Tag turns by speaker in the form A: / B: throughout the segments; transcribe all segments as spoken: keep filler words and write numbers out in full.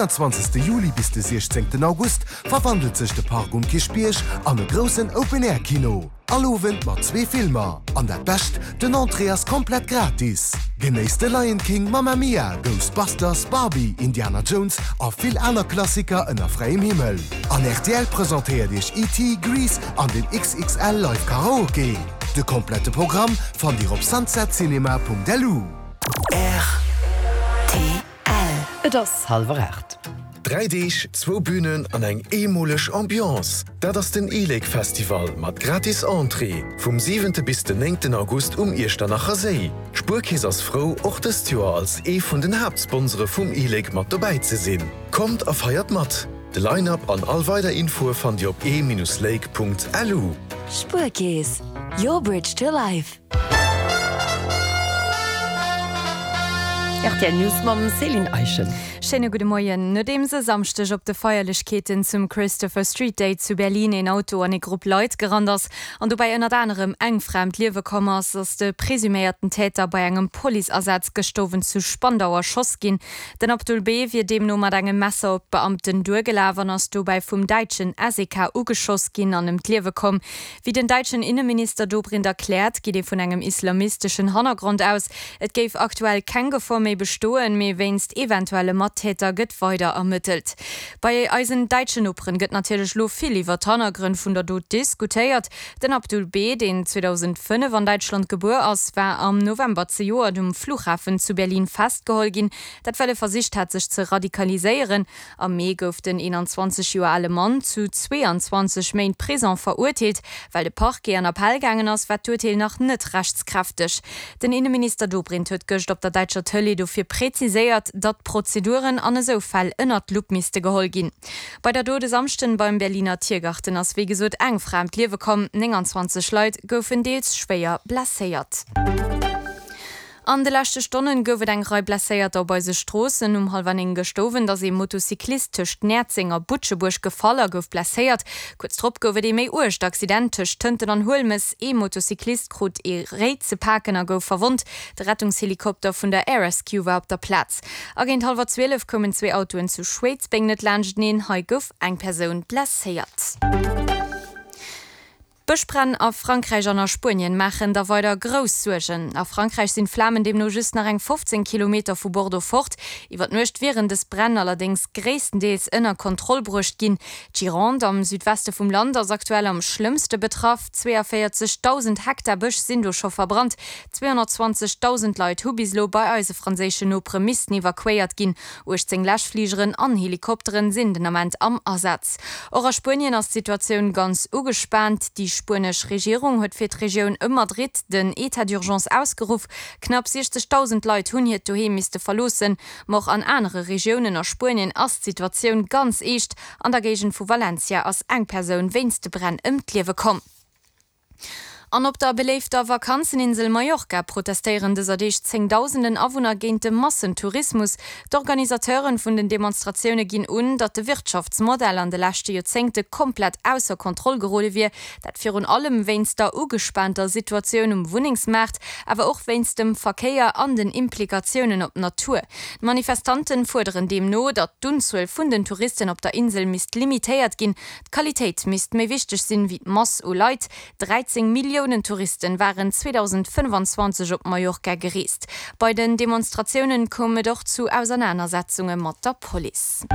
A: zwanzegste Juli bis de siechzéngten August verwandelt sech de Park um Kierchbierg an e groussen Open-Air-Kino. All Owend mat zwee Filmer. An dat Bescht, den Entrée ass komplett gratis! Genéisst de Lion King, Mamma Mia, Ghostbusters, Barbie, Indiana Jones a vill aner Klassiker ënner fräiem Himmel. An rtl presentéiert iech E T. Grease an den X X L Live Karaoke. De komplette Programm fannt dir op sunsetcinema Punkt L U.
B: R T L.
C: Et ass
D: hallwer aacht.
E: Dräi Deeg, zwou Bünen an eng eemoleg Ambiance. Dat ass den e-Lake Festival mat gratis Entrée vum siwente bis den néngten August um Iechternacher Séi. D'Spuerkeess ass frou, och dëst Joer als ee vun den Haaptsponsore vum e-Lake mat dobäi ze sinn. Kommt a feiert mat! De Line-Up an all weider Infoe fannt Dir op e-lake Punkt L U.
B: Spuerkeess, your bridge to life.
C: R T L News mam Céline Eischen.
F: Schéine gudde Moien. Nodeems e Samschdeg op de Feierlechkeeten zum Christopher Street Day zu Berlin een Auto an e Grupp Leit gerannt ass an dobäi ënnert anerem eng Fra ëm d'Liewe komm ass, ass de presuméierten Täter bei engem Policeasaz gëscht Owend zu Spandau erschoss ginn. Den Abdul B. wier deemno mat engem Messer op d'Beamten duergelaf an ass dobäi vum däitschen S E K ugeschoss ginn an ëm d'Liewe komm. Wéi den däitschen Inneminister Dobrindt erkläert, geet ee vun engem islamisteschen Hannergrond aus. Et géif aktuell keng Gefor méi bestoen, mee wéinst eventuelle Mattäter gëtt weider ermëttelt. Bei eisen däitschen Noperen gëtt natierlech lo vill iwwer d'Hannergrënn vun der Dot diskutéiert. Den Abdul B., deen zweedausendfënnef an Däitschland gebuer ass, war am November zejoert um Flughafen zu Berlin festgeholl ginn, dat well e versicht hat sech ze radikaliséieren. Am Mee gouf den eenanzwanzeg Joer ale Mann zu zweeanzwanzeg Méint Prison verurteelt. Well de Parquet an Appell gaangen ass, war d'Urteel nach net rechtskräfteg. Den Inneminister Dobrindt huet gëscht op der däitscher Tëlee dofir präziséiert, datt d'Prozeduren an esou Fäll ënnert d'Lupp misste geholl ginn. Bei der Dot e Samschden beim Berliner Tiergarten ass wéi gesot eng Fra ëm d'Liewe komm, nénganzwanzeg Leit goufen deels schwéier blesséiert. An de leschte Stonnen gouf et eng Rei Blesséierter op eise Stroossen. Um hallwer néng gëscht Owend ass ee Motocyclist tëscht Näerzeng a Butschebuerg gefall a gouf blesséiert. Kuerz drop gouf et ee méi uergt Accident tëscht Tënten an Huelmes. Ee Motocyclist krut ee Réi ze paken a gouf verwonnt. De Rettungshelikopter vun der Air Rescue war op der Plaz. A géint hallwer zwielef koumen zwee Autoen zu Schwéidsbeng net laanschteneen. Hei gouf eng Persoun blesséiert. D'Bëschbränn a Frankräich an a Spuenien maachen der weider grouss Suergen. A Frankräich sinn d'Flamen deemno just nach eng fofzéng Kilometer vu Bordeaux fort. Iwwer d'Nuecht wieren dës Bränn allerdéngs gréisstendeels ënner Kontroll bruecht ginn. D'Gironde am Südweste vum Land ass aktuell am schlëmmste betraff. Zweeënvéierzegdausend Hektar Bësch sinn do scho verbrannt. Zweehonnertzwanzegdausend Leit hu bis elo bei eise franséischen Nopere missten evakuéiert ginn. Uechtzéng Läschfligeren an Helikopteren sinn den Ament am Asaz. Och a Spuenien ass d'Situatioun ganz ugespaant. Déi spuenesch Regierung huet fir d'Regioun ëm Madrid den État d'urgence ausgeruff. Knapp siechzegdausend Leit hunn hiert Doheem misste verloossen. Ma och an anere Regiounen a Spuenien ass d'Situatioun ganz eescht. An der Géigend vu Valencia ass eng Persoun wéinst de Bränn ëm d'Liewe komm. An op der beléifter Vakanzeninsel Mallorca protestéieren dëser Deeg zéngdausenden Awunner géint de Massentourismus. D'Organisateuren vun den Demonstratioune ginn un, datt de Wirtschaftsmodell an de leschte Joerzéngte komplett ausser Kontroll gerode wier. Dat virun allem wéinst der ugespaanter Situatioun um Wunnengsmaart, awer och wéinst dem Verkéier an den Implikatiounen op d'Natur. D'Manifestanten fuerderen deemno, datt d'Unzuel vun den Touristen op der Insel misst limitéiert ginn. D'Qualitéit misst méi wichteg sinn, wéi d'Mass u Leit. dräizéng Milliounen Touristen waren zweedausendfënnefanzwanzeg op Mallorca gereest. Bei den Demonstratiounen koum et och zu Ausernanersetzunge mat der Police.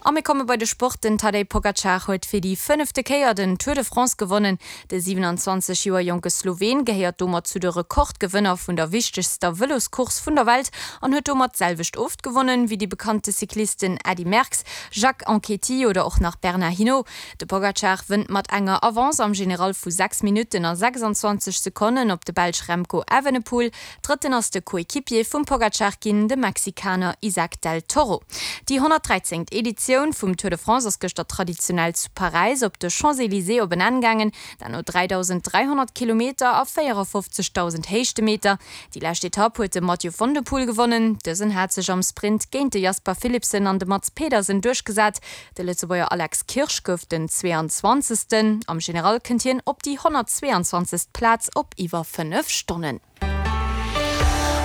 F: A mir komme bei de Sport, Den Tadej Pogacar huet fir déi fënnefte Kéier den Tour de France gewonnen. De siewenanzwanzeg Joer jonke Sloween gehéiert domat zu de Rekordgewënner vun der wichtegster Vëloscourse vun der Welt an huet domat d'selwecht oft gewonnen, wéi déi bekannte Cyclisten Eddy Merckx, Jacques Anquetil oder och nach Bernard Hinault. De Pogacar wënnt mat enger Avance am General vu sechs Minutten a sechsanzwanzeg Sekonnen op de Belsch Remco Evenepoel. Drëtten ass de Coequipier vum Pogacar ginn, de Mexikaner Isaac del Toro. Déi honnertdräizéngt Editioun vum Tour de France ass gëschter traditionell zu Paräis op de Champs-Élysées op en Enn gaangen, dat no dräidausend dräihonnert Kilometer a véierafofzegdausend Héichtemeter. Déi lescht Etapp huet de Mathieu van der Poel gewonnen. Dësen hat sech am Sprint géint de Jasper Philipsen an de Mads Pedersen duerchgesat. De Lëtzebuerger Alex Kirsch gouf den zweeanzwanzegsten. Am General kënnt hien op déi honnertzweeanzwanzegst Plaz op iwwer fënnef Stonnen.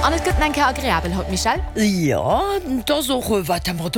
F: An et gëtt nach eng Kéier agreabel haut, Michèle?
D: Jo, et ass och wat Temperature